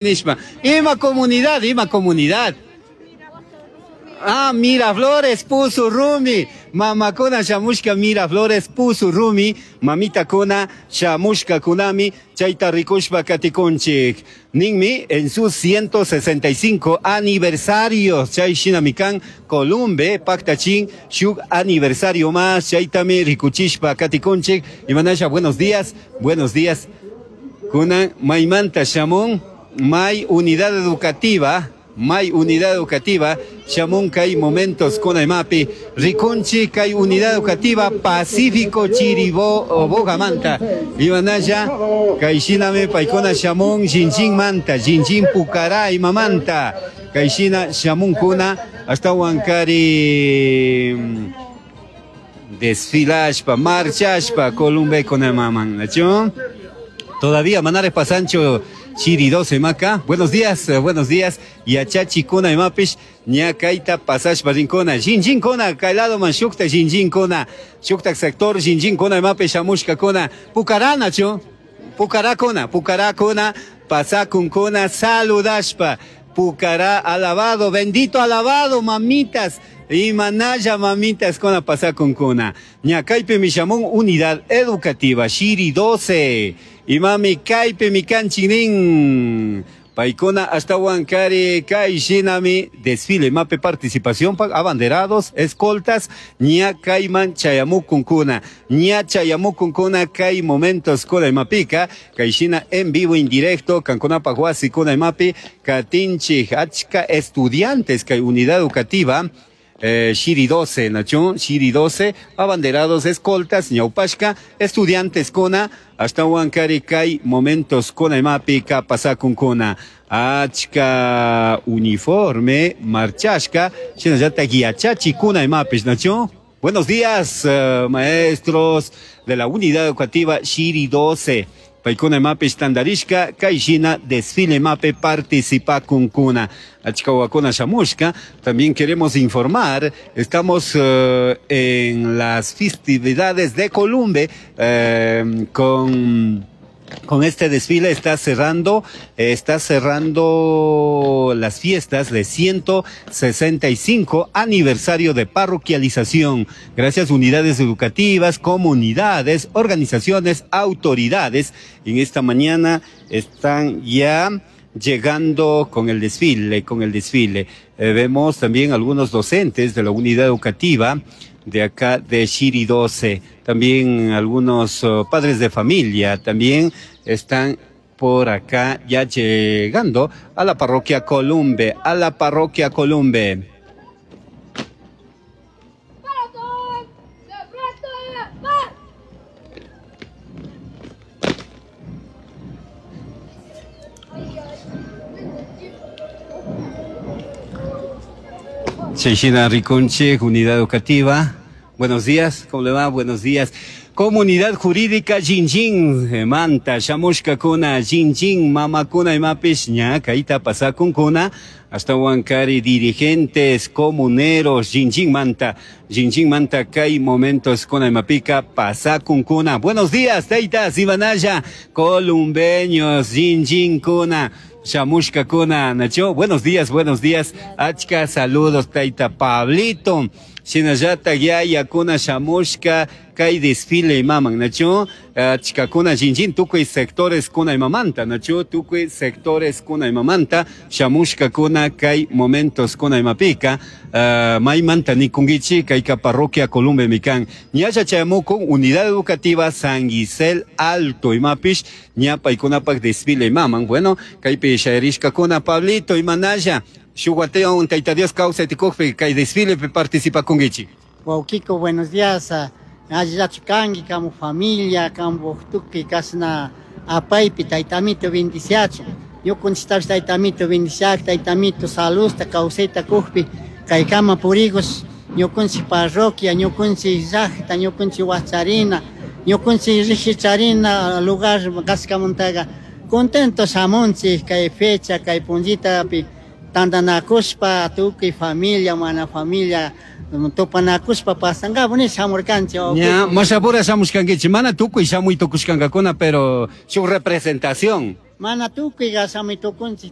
Nishpa. Ima comunidad, ima comunidad. Ah, Miraflores puso rumi. Mamakuna shamushka Miraflores puso rumi. Mamitakuna shamushka kunami chayta rikushpa katikunchik. Ninmi en su 165 aniversario chay shinami kan Columbe paktachin shuk aniversario más chaytami rikuchishpa katikunchik. Imanasha, buenos días, buenos días. Kunan maymanta shamun may unidad educativa, may unidad educativa, shamun kay momentos kunaymapi, rikunchi kay unidad educativa Pacífico Chiribo Bogamanta, imanalla kay shinami paykuna shamun Jinjin manta, Jinjin Pucará imamanta, kay shina shamun kuna ashtawan kari desfilashpa, marchashpa, Columbe kunaymaman, ¿nachu? Todavía manare pasancho Chiri 12 maca. Buenos días, buenos días. Yachachi kuna imapish ñakaita pasashpa rinkuna. Jinjin kuna, kaylado man shukta jinjin kuna. Shukta sector jinjin kuna imapish shamushka kuna. Pucarana chu. Pucará kuna, pucará kuna, pasakun kuna, saludashpa. Pucará alabado, bendito alabado, mamitas. Imanaya mamitas kuna pasakun kuna. Ñakaypi mishamun unidad educativa Shiri 12. Imami kaypi mikanchinin. Paykuna ashtawan kari kay shinami desfile mape participación pa abanderados, escoltas, ña kayman chayamukunkuna, ña chayamukunkuna kay momentos kuna imapika, kay shina en vivo indirecto, kankunapa wasi kuna imapi, katinchi achka estudiantes kay unidad educativa, Shiri 12, Nachón, Shiri 12, abanderados, escoltas, ñaupashka, estudiantes kuna, hasta huancari kay momentos kuna imapi ka pasakun kuna. Achka uniforme, marchashka, shinallata guiachachi kuna imapish, Nachón. Buenos días, maestros de la unidad educativa Shiri 12. Paykuna imapish tandarishka, kay shina desfile mape participa kunkuna. Achka wakuna shamushka. También queremos informar, estamos en las festividades de Columbe, con este desfile está cerrando las fiestas de 165 aniversario de parroquialización. Gracias unidades educativas, comunidades, organizaciones, autoridades. En esta mañana están ya llegando con el desfile, con el desfile. Vemos también algunos docentes de la unidad educativa de acá de Shiri 12, también algunos padres de familia también están por acá ya llegando a la parroquia Columbe, a la parroquia Columbe. Cheshina Riconche, unidad educativa. Buenos días, ¿cómo le va? Buenos días. Comunidad Jurídica Jinjin, Manta, Shamushka Kuna, Jinjin, Mama Kuna y Mapish, Ñaka, Ita, Pasakun Kuna, hasta Huancari, dirigentes, comuneros, Jinjin Manta, Jinjin Manta, Kai, momentos Kuna y Mapica, Pasakun Kuna. Buenos días, Teitas, Ibanaya, columbeños, Jinjin Kuna. Shamushka Kuna, Nacho, buenos días, buenos días, Achka, saludos, Taita Pablito, Shinallata, Yaya, Kuna, Shamushka, Kai desfile y maman, Nacho, Achka Kuna, Jinjin, Tukuy sectores Kuna y Mamanta, Nacho, Tukuy sectores Kuna y Mamanta, Shamushka Kuna, Kai momentos Kuna y Mapica, Maymanta, Nikungichi, Kaika Parroquia, Columbe, Mikan, Ñaya Chayamuco, Unidad Educativa San Gisel Alto y Mapish, Ñapa y Kunapak desfile y maman, bueno, Kaipi Shairishka Kuna, Pablito y Manaya, Shuguateo, Taita Dios causa y Kai desfile participa con Gichi. Wauquico, buenos días. Ayillachu kanki, kamu familia, kamu tuki, kasna apaypi, taytamito bendiciachu. Ñukunchiktapish taytamito bendiciak, taytamito salusta, kawsayta kukpi, kaykama purigos, ñukunchik parroquia, ñukunchik llaqta, ñukunchik wacharina, ñukunchik rigicharina lugar kaskamuntaqa contento shamunchik kay fecha, kay punllitapi tantanakushpa, tukuy familia, mana familia, tupanakushpa pasankapu ni shamurkanchik. Ña, mashapura shamushkankichik, mana tukuy shamuy tukushkankakuna, pero su representación. Mana tukuy shamuy tukunchik.